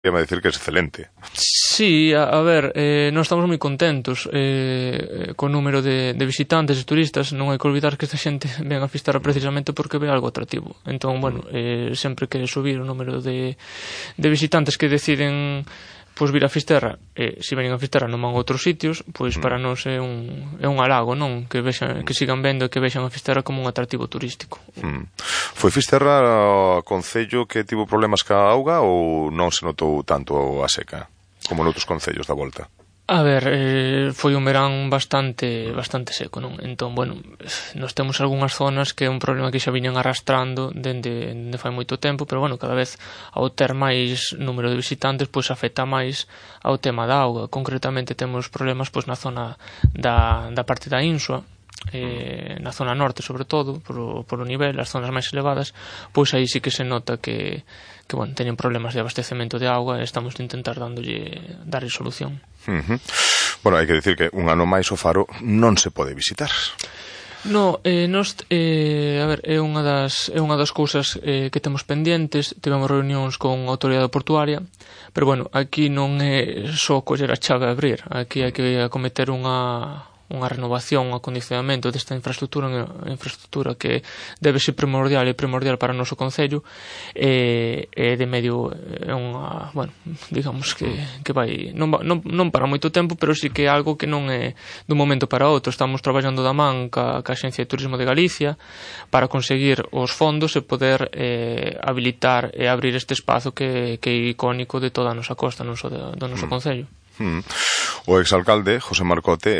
Iba a decir que es excelente. Sí, a ver, nós estamos moi contentos co número de visitantes e turistas. Non hai que olvidar que esta xente ven a Fisterra precisamente porque ve algo atractivo. Entón, bueno, sempre que subir o número de visitantes que deciden pois vir a Fisterra, se veñen a Fisterra non van a outros sitios, pois para nós é un halago, non? Que sigan vendo e que vexan a Fisterra como un atractivo turístico. Foi Fisterra o concello que tivo problemas ca auga ou non se notou tanto a seca como noutros concellos da volta? A ver, foi un verán bastante seco, non? Entón, bueno, nós temos algunhas zonas que é un problema que xa viñan arrastrando dende fai moito tempo, pero, bueno, cada vez ao ter máis número de visitantes, pois afecta máis ao tema da auga. Concretamente temos problemas pois na zona da parte da Insua, na zona norte, sobre todo, por o nivel, as zonas máis elevadas, pois aí sí que se nota que bueno, teñen problemas de abastecemento de auga e estamos a intentar darlle solución. Bueno, hai que dicir que un ano máis o faro non se pode visitar. No, a ver, é unha das cousas que temos pendientes. Tivemos reunións con a autoridade portuaria, pero bueno, aquí non é só coller a chave a abrir. Aquí hai que acometer unha renovación, un acondicionamento desta infraestructura que debe ser primordial para o noso concello, e de medio é unha, bueno, digamos que vai non para moito tempo, pero sí que é algo que non é dun momento para outro. Estamos traballando da man ca Axencia de Turismo de Galicia para conseguir os fondos e poder habilitar e abrir este espazo que é icónico de toda a nosa costa, non só do noso concello. O exalcalde José Marcote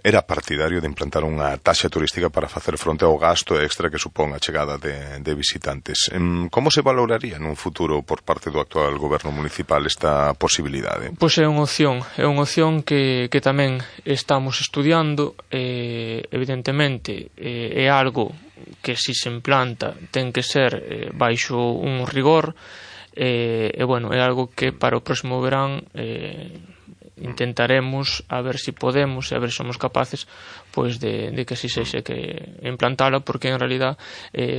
era partidario de implantar unha taxa turística para facer fronte ao gasto extra que supón a chegada de visitantes. Como se valoraría nun futuro por parte do actual goberno municipal esta posibilidade? Pois é unha opción que tamén estamos estudiando. Evidentemente é algo que se implanta ten que ser baixo un rigor, e bueno, é algo que para o próximo verán intentaremos a ver se podemos e a ver se somos capaces pois de que así sexa, que implantala, porque en realidad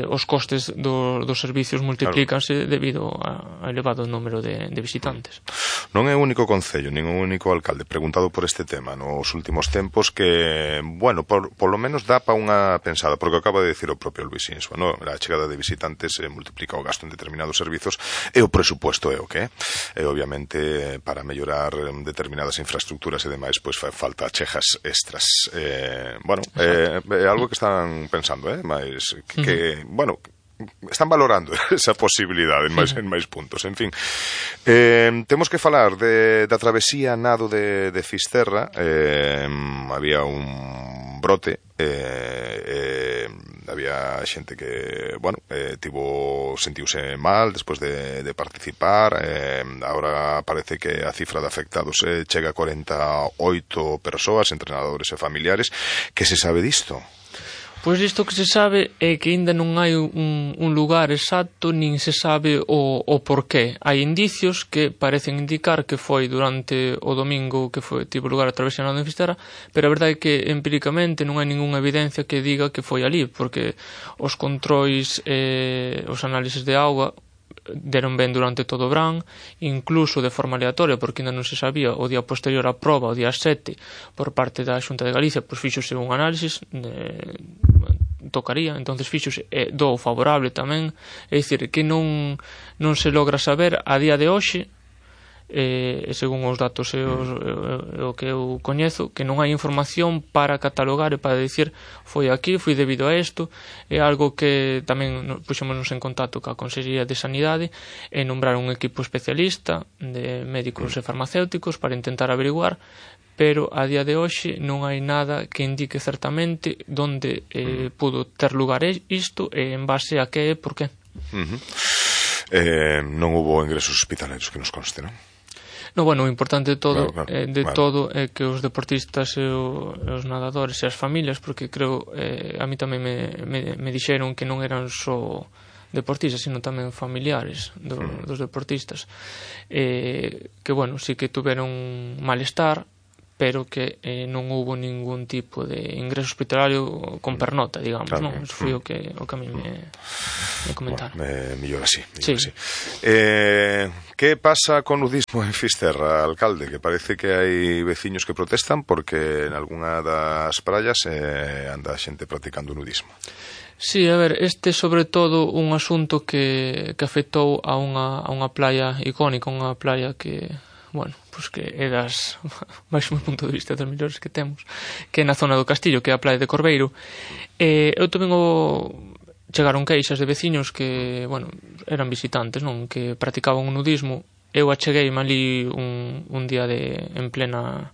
os costes dos servicios multiplícanse debido ao elevado número de visitantes. Non é o único concello, nin o único alcalde preguntado por este tema nos últimos tempos que, bueno, por lo menos dá pa unha pensada, porque acaba de decir o propio Luis Insua, no? A chegada de visitantes multiplica o gasto en determinados servizos e o presupuesto é o que é. E obviamente para mellorar determinadas infraestructuras e demais, pois fai falta chejas extras. Bueno, é algo que están pensando, mas que, bueno, están valorando esa posibilidade en máis puntos. En fin, temos que falar da travesía nado de Fisterra. Había un brote, había xente que, bueno, sentiuse mal despois de participar. Agora parece que a cifra de afectados chega a 48 persoas, entrenadores e familiares. Que se sabe disto? Pois isto que se sabe é que ainda non hai un lugar exacto, nin se sabe o porqué. Hai indicios que parecen indicar que foi durante o domingo que tivo lugar a travesía nado en Fisterra, pero a verdade é que empíricamente non hai ningunha evidencia que diga que foi ali, porque os controis, os análises de auga deron ben durante todo o verán, incluso de forma aleatoria, porque ainda non se sabía o día posterior á proba, o día 7, por parte da Xunta de Galicia, pois fíxose un análisis, tocaría, entonces fíxose do favorable tamén, é dicir, que non se logra saber a día de hoxe, según os datos e o que eu coñezo, que non hai información para catalogar e para dicir foi aquí, foi debido a isto. É algo que tamén puxémonos en contacto ca Consellería de Sanidade e nombrar un equipo especialista de médicos e farmacéuticos para intentar averiguar, pero a día de hoxe non hai nada que indique certamente onde pudo ter lugar isto e en base a que e por qué. Non hubo ingresos hospitalarios que nos conste, non? No, bueno, o importante de todo todo é que os deportistas e os nadadores e as familias, porque creo, a mí tamén me dixeron que non eran só deportistas, sino tamén familiares dos deportistas, que, bueno, sí que tuveron malestar, pero que non houbo ningún tipo de ingreso hospitalario con pernota, digamos, non? Eso foi o que a mí me comentaron. Mellor así. Que pasa con nudismo en Fisterra, alcalde? Que parece que hai veciños que protestan porque en algunha das praias anda xente practicando nudismo. Sí, a ver, este sobre todo un asunto que afectou a unha playa icónica, unha playa que, bueno, pois que é das, máis meu punto de vista, das mellores que temos, que é na zona do Castillo, que é a playa de Corbeiro. Eu tamén chegaron queixas de veciños que, bueno, eran visitantes, non, que practicaban o nudismo. Eu achegueime ali un día en plena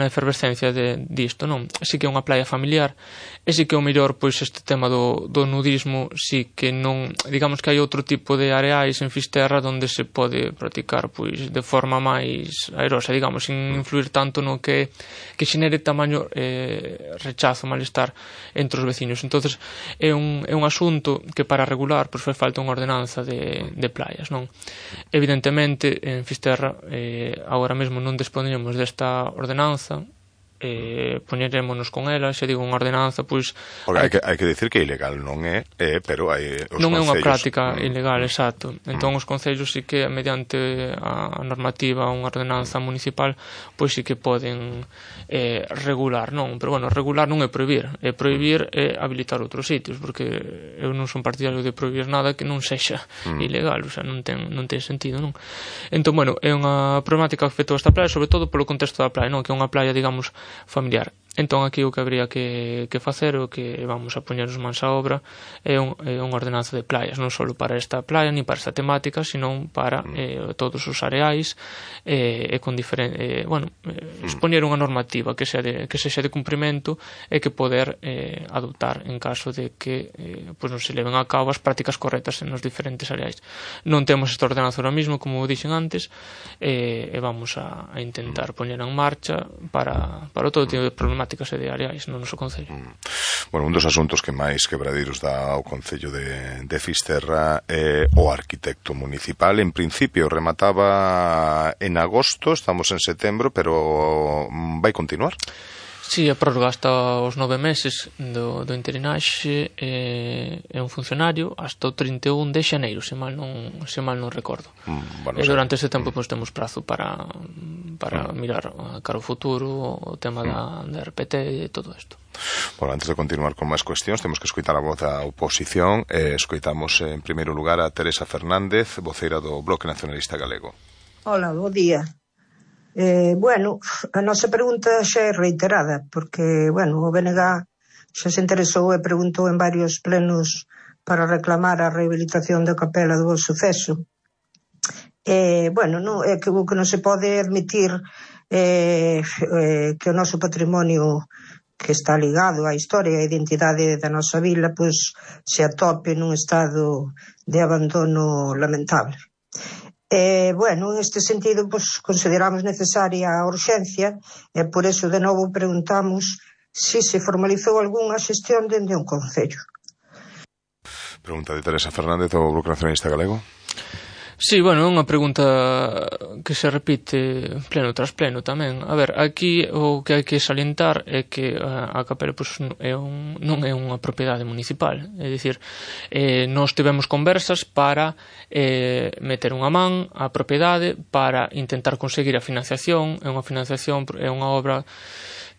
efervescencia disto, non? Si que é unha playa familiar, e si que o mellor, pois, este tema do nudismo, si que non, digamos que hai outro tipo de areais en Fisterra onde se pode practicar, pois, de forma máis airosa, digamos, sin influir tanto no que xenere tamaño rechazo, malestar entre os veciños. Entonces, é un asunto que para regular, pois, fai falta unha ordenanza de playas, non? Evidentemente, en Fisterra, agora mesmo non dispoñemos desta ordenanza, poñerémonos con ela, se digo unha ordenanza, pois... Porque hai que dicir que ilegal non é, pero hai os non concellos... é unha práctica ilegal, exacto. Entón os concellos sí que, mediante a normativa, unha ordenanza municipal, pois sí que poden regular, non? Pero, bueno, regular non é prohibir é habilitar outros sitios, porque eu non son partidario de prohibir nada que non sexa ilegal, o sea, non ten sentido, non? Entón, bueno, é unha problemática que afectou esta playa, sobre todo polo contexto da playa, non? Que é unha playa, digamos, familiar. Entón, aquí o que habría que facer, o que vamos a poñernos mans a obra, é unha ordenanza de playas, non só para esta playa, ni para esta temática, sino para todos os areais, e con diferente, expoñer unha normativa que sexa de cumprimento e que poder adoptar en caso de que pois non se leven a cabo as prácticas correctas en os diferentes areais. Non temos esta ordenanza ahora mismo, como dixen antes, e vamos a intentar poñer en marcha para todo tipo de problemáticas e de areais no noso concello. Bueno, un dos asuntos que máis quebradiros dá ao concello de Fisterra é o arquitecto municipal. En principio remataba en agosto, estamos en setembro, pero vai continuar? Si, a prórroga hasta os 9 meses do interinaxe é un funcionario hasta o 31 de xaneiro, se mal non recordo. E durante ese tempo pois temos prazo para mirar cara ao futuro, o tema da RPT e todo isto. Bueno, antes de continuar con máis cuestións, temos que escoitar a voz da oposición. Escoitamos en primeiro lugar a Teresa Fernández, voceira do Bloque Nacionalista Galego. Hola, bo día. Bueno, a nosa pregunta xa é reiterada, porque, bueno, o BNG xa se interesou e preguntou en varios plenos para reclamar a rehabilitación da capela do Bo Suceso. Bueno, é que o que non se pode admitir que o noso patrimonio que está ligado á historia e á identidade da nosa vila, pois se atope nun estado de abandono lamentable. Bueno, en este sentido, pues, consideramos necesaria a urxencia e por eso de novo preguntamos se formalizou algunha xestión dende un concello. Pregunta de Teresa Fernández do Bloque Nacionalista Galego. Sí, bueno, é unha pregunta que se repite pleno tras pleno tamén. A ver, aquí o que hai que salientar é que a capela pois, non é unha propiedade municipal. É dicir, nós tivemos conversas para meter unha man á propiedade para intentar conseguir a financiación. É unha obra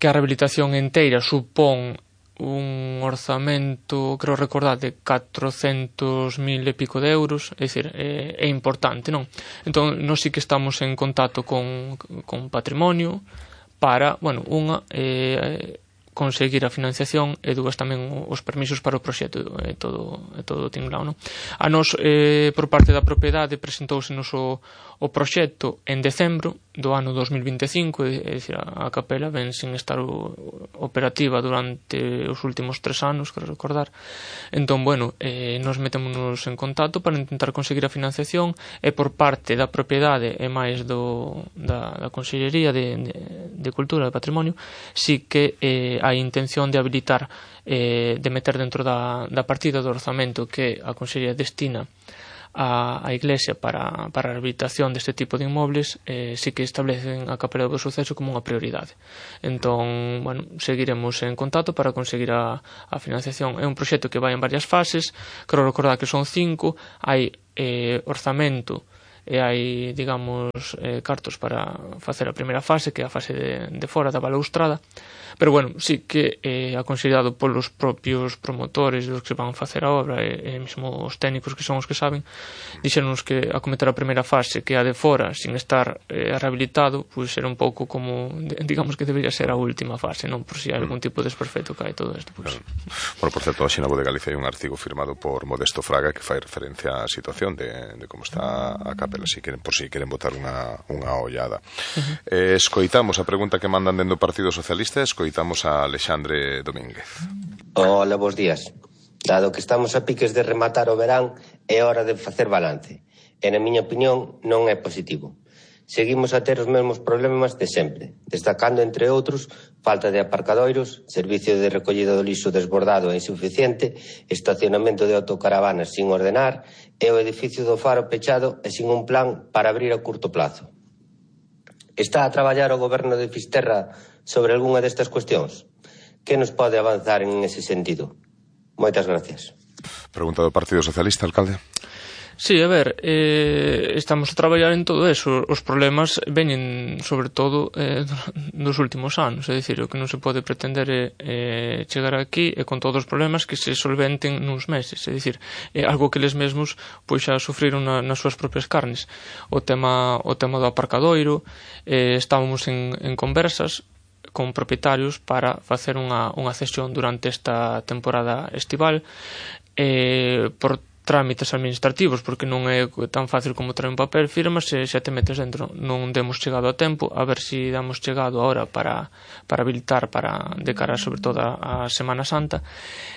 que a rehabilitación inteira supón un orzamento, creo recordar, de 400.000 e pico de euros, é dicir, é importante, non? Entón, nós sí que estamos en contacto con patrimonio para, bueno, unha, conseguir a financiación e dúas tamén os permisos para o proxecto e todo tinglao, non? A nos, por parte da propiedade, presentousenos o proxecto en decembro do ano 2025, é dicir, a capela ven sin estar operativa durante os últimos 3 anos, quero recordar. Entón, bueno, nos metémonos en contacto para intentar conseguir a financiación e por parte da propiedade e máis da Consellería de Cultura e Patrimonio sí que hai intención de habilitar, de meter dentro da partida do orzamento que a Consellería destina a Iglesia para a rehabilitación deste tipo de inmobles, sí que establecen a Capela do Suceso como unha prioridade. Entón, bueno, seguiremos en contacto para conseguir a financiación. É un proxecto que vai en varias fases, quero recordar que son 5, hai orzamento e hai, digamos, cartos para facer a primeira fase, que é a fase de fora da balaustrada, pero bueno, sí que aconsellado polos propios promotores dos que van facer a obra e mesmo os técnicos que son os que saben, dixeronnos que acometer a primeira fase, que é a de fora, sin estar rehabilitado, pois era un pouco como, digamos que debería ser a última fase, non? Por si hai algún tipo de desperfecto que hai todo isto, pois. Bueno, por certo, hoxe na Voz de Galicia hai un artigo firmado por Modesto Fraga que fai referencia á situación de como está a Capela, por si queren botar unha ollada. Escoitamos a pregunta que mandan dentro do Partido Socialista, escoitamos a Alexandre Domínguez. Hola, bons días. Dado que estamos a piques de rematar o verán, é hora de facer balance. E, na miña opinión, non é positivo. Seguimos a ter os mesmos problemas de sempre, destacando, entre outros, falta de aparcadoiros, servicio de recollida do lixo desbordado e insuficiente, estacionamento de autocaravanas sin ordenar e o edificio do Faro pechado e sin un plan para abrir a curto plazo. Está a traballar o goberno de Fisterra sobre algunha destas cuestións? Que nos pode avanzar en ese sentido? Moitas gracias. Pregunta do Partido Socialista, alcalde. Sí, a ver, estamos a traballar en todo eso. Os problemas veñen, sobre todo, dos últimos anos. É dicir, o que non se pode pretender é chegar aquí e con todos os problemas que se solventen nuns meses. É dicir, é algo que eles mesmos pois xa sufriron nas súas propias carnes. O tema do aparcadoiro, estábamos en conversas con propietarios para facer unha cesión durante esta temporada estival, por trámites administrativos, porque non é tan fácil como traer un papel, firmas e xa te metes dentro. Non demos chegado a tempo, a ver se damos chegado ahora para habilitar de cara sobre todo a Semana Santa.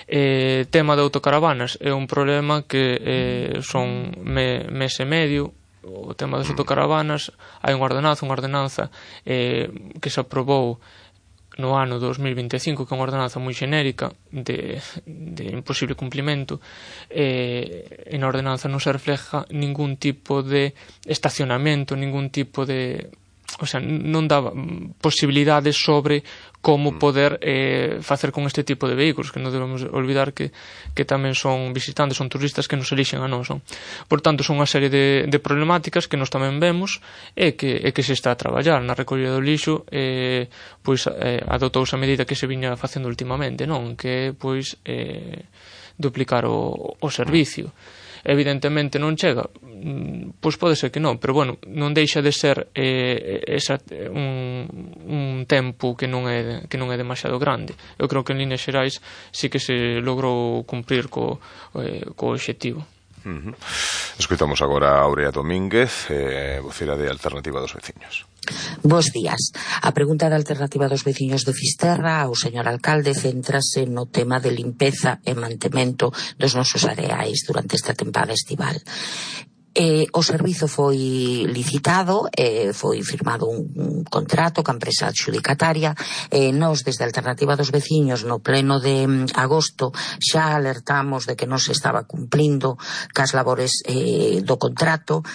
Tema de autocaravanas é un problema que son mes e medio. O tema das autocaravanas, hai unha ordenanza que se aprobou no ano 2025, que é unha ordenanza moi xenérica de imposible cumplimento, e na ordenanza non se refleja ningún tipo de estacionamento, ningún tipo de... O sea, non dá posibilidades sobre como poder facer con este tipo de vehículos, que non debemos olvidar que tamén son visitantes, son turistas que nos elixen a nós. Por tanto, son unha serie de problemáticas que nos tamén vemos e que se está a traballar na recollida do lixo, pois adotouse a medida que se viña facendo últimamente, non? Que pois duplicar o servicio. Evidentemente non chega, pois pode ser que non, pero bueno, non deixa de ser un tempo que non é demasiado grande. Eu creo que en líneas xerais sí que se logrou cumprir co obxectivo. Escoitamos agora a Aurea Domínguez, vocera de Alternativa dos Veciños. Bos días. A pregunta da Alternativa dos Veciños de Fisterra ao señor alcalde céntrase no tema de limpeza e mantemento dos nosos areais durante esta tempada estival. O servizo foi licitado, foi firmado un contrato ca empresa adxudicataria, nós desde a Alternativa dos Veciños no pleno de agosto xa alertamos de que non se estaba cumplindo cas labores do contrato,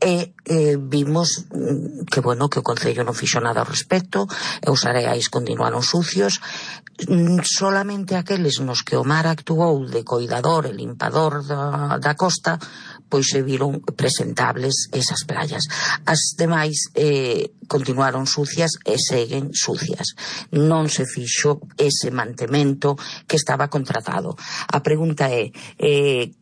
e vimos que o Concello non fixo nada ao respecto, e os areais continuaron sucios. Solamente aqueles nos que o mar actuou de coidador e limpador da costa, pois se viron presentables esas playas. As demais continuaron sucias e seguen sucias. Non se fixo ese mantemento que estaba contratado. A pregunta é,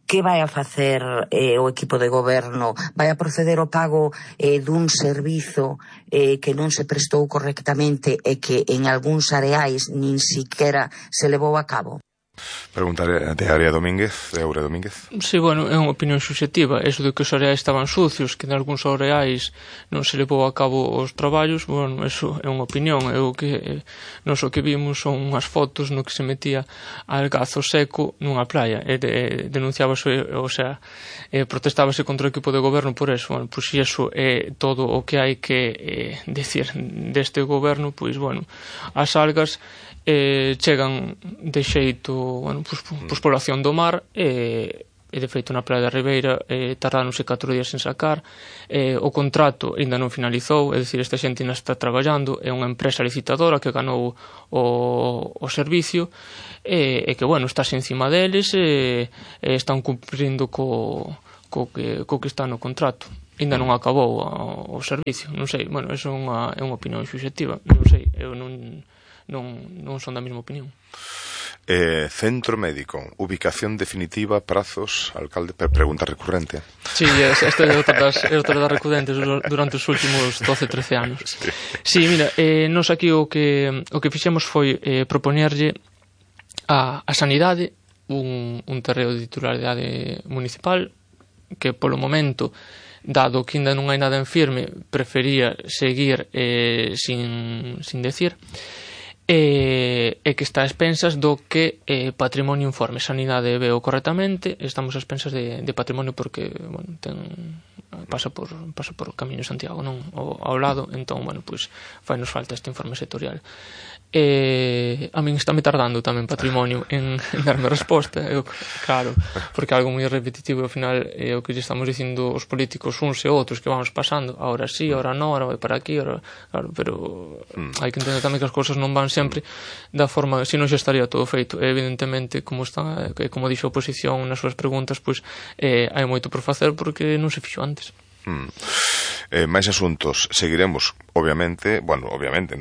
que vai a facer o equipo de goberno? Vai a proceder ao pago dun servizo que non se prestou correctamente e que en algúns areais nin siquiera se levou a cabo? Pregunta de Aurea Domínguez. Sí, bueno, é unha opinión subxectiva. Eso de que os areais estaban sucios, que en algúns areais non se levou a cabo os traballos, bueno, eso é unha opinión. Nos o que vimos son unhas fotos no que se metía algazo seco nunha playa e denunciábase, o sea, protestábase contra o equipo de goberno por eso. Bueno, pois se eso é todo o que hai que decir deste goberno, pois, bueno, as algas chegan de xeito, bueno, pois población do mar, e e de feito na Praia da Ribeira tardáronse 4 días en sacar. O contrato ainda non finalizou, é dicir, esta xente ainda está traballando, é unha empresa licitadora que ganou o servicio e que, bueno, está encima deles e están cumprindo co que está no contrato. Ainda non acabou o servicio, non sei, bueno, eso é unha opinión subxectiva, non sei, eu non son da mesma opinión. Centro médico, ubicación definitiva, prazos, alcalde, pregunta recurrente. Sí, esta é outra das recurrentes durante os últimos 12-13 anos. Sí, mira, nos aquí o que fixemos foi propoñerlle a Sanidade un terreo de titularidade municipal que polo momento, dado que ainda non hai nada en firme, prefería seguir sin decir, e que está a expensas do que Patrimonio informe. Sanidade veo correctamente, estamos a expensas de Patrimonio porque, bueno, pasa por Camiño de Santiago, non ao lado, entón, bueno, pois fai nos falta este informe sectorial. A min está me tardando tamén Patrimonio en darme resposta, claro, porque algo moi repetitivo, ao final é o que lle estamos dicindo os políticos uns e outros que vamos pasando, ahora sí, ahora non, ahora vai para aquí, ahora, claro, pero hai que entender tamén que as cousas non van sempre da forma, se non xa estaría todo feito. Evidentemente, como dixo a oposición nas súas preguntas, pois hai moito por facer porque non se fixo antes. Máis asuntos, seguiremos obviamente,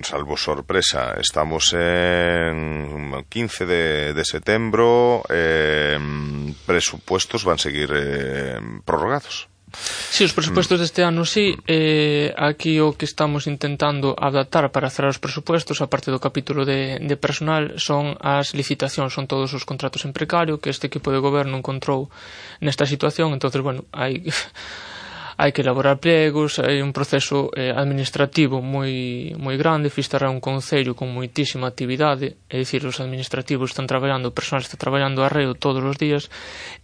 salvo sorpresa, estamos en 15 de setembro, presupuestos van seguir prorrogados. Sí, os presupuestos deste ano sí, aquí o que estamos intentando adaptar para cerrar os presupuestos, a parte do capítulo de personal, son as licitacións, son todos os contratos en precario que este equipo de goberno encontrou nesta situación. Entonces, bueno, hai que elaborar plegos, hai un proceso administrativo moi grande. Fisterra é un concello con moitísima actividade, é dicir, os administrativos están traballando, o personal está traballando a reo todos os días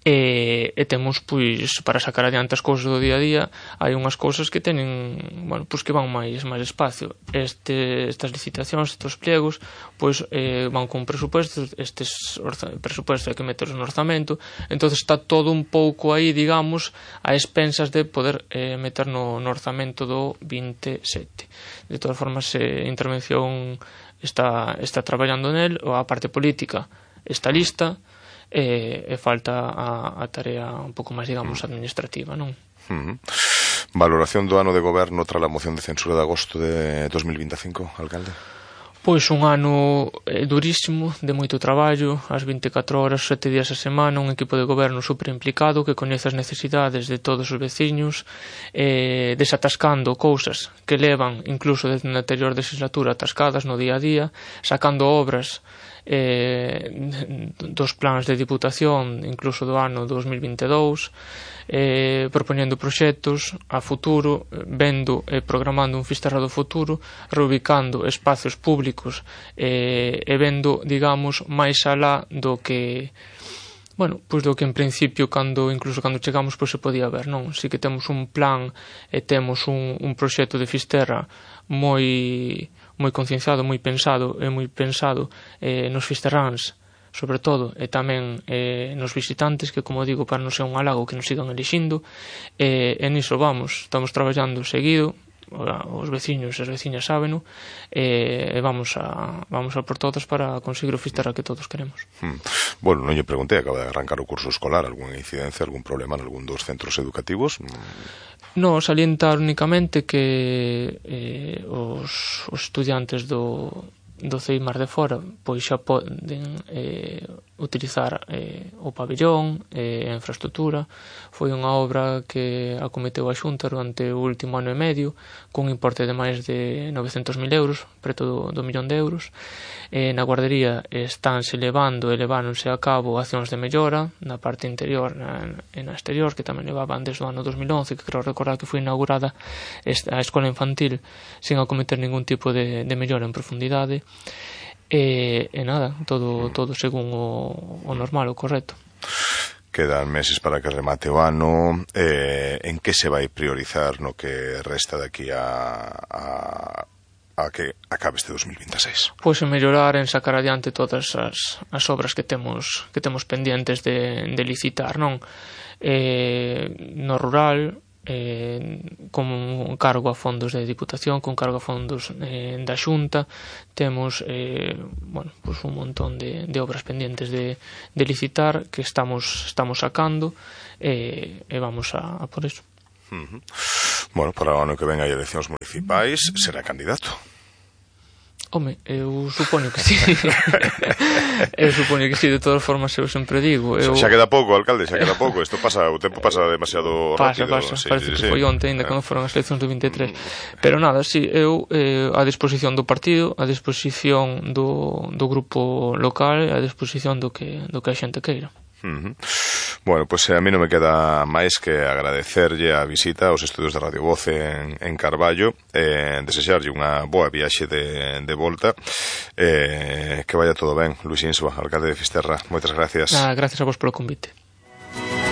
e temos, pois, para sacar adiante as cousas do día a día, hai unhas cousas que teñen, bueno, pois que van máis espacio. Estas licitacións, estes pliegos, pois van con presupuestos, estes presupuestos hai que meterlos no orzamento, entonces está todo un pouco aí, digamos, a expensas de poder meter no orzamento do 27. De todas formas, a intervención está traballando nel, a parte política está lista, e falta a tarea un pouco máis, digamos, administrativa, non? Valoración do ano de goberno tras a moción de censura de agosto de 2025, alcalde? Pois un ano durísimo, de moito traballo, as 24 horas, 7 días a semana, un equipo de goberno super implicado que coñece as necesidades de todos os veciños, desatascando cousas que levan incluso desde a anterior legislatura atascadas no día a día, sacando obras dos plans de diputación incluso do ano 2022, propoñendo proxectos a futuro, vendo e programando un Fisterra do futuro, reubicando espacios públicos e vendo, digamos, máis alá do que, bueno, pois do que en principio incluso cando chegamos pois se podía ver, non? Si que temos un plan e temos un proxecto de Fisterra moi concienciado, moi pensado nos fisterráns, sobre todo, e tamén nos visitantes, que, como digo, para non ser un halago que nos sigan elixindo, e niso estamos traballando seguido, os veciños e as veciñas sábeno, e vamos a por todos para conseguir o Fisterra que todos queremos. Bueno, non lle preguntei, acaba de arrancar o curso escolar, algunha incidencia, algún problema en algún dos centros educativos? No, salientar únicamente que os estudiantes do CEIMAR de fora pois xa poden utilizar o pabellón e a infraestructura. Foi unha obra que acometeu a Xunta durante o último ano e medio cun importe de máis de 900.000 euros, preto do 1.000.000 de euros. Na guardería leváronse a cabo accións de mellora na parte interior e na exterior, que tamén levaban desde o ano 2011, que creo recordar que foi inaugurada a escola infantil sin acometer ningún tipo de mellora en profundidade. E nada, todo según o normal, o correcto. Quedan meses para que remate o ano. En que se vai priorizar no que resta de aquí a a que acabe este 2026? Pois en mellorar, en sacar adiante todas as obras que temos pendientes de licitar, non? No rural, con cargo a fondos de Diputación, con cargo a fondos da Xunta, temos pues un montón de obras pendientes de licitar que estamos sacando, e vamos a por eso. Bueno, para o ano que ven hai eleccións municipais, será candidato? Home, eu supoño que sí. Eu supoño que sí, de todas formas eu sempre digo. Xa queda pouco, alcalde, xa queda pouco. Isto pasa, o tempo pasa demasiado rápido. Pasa, parece que foi onte ainda cando foron as eleccións do 23. Pero nada, sí, eu a disposición do partido, a disposición do grupo local, a disposición do que a xente queira. Bueno, pois a mí non me queda máis que agradecerlle a visita aos estudios de Radio Voz en Carballo, desexarlle unha boa viaxe de volta, que vaya todo ben. Luís Insua, alcalde de Fisterra, moitas gracias. Gracias a vos polo convite.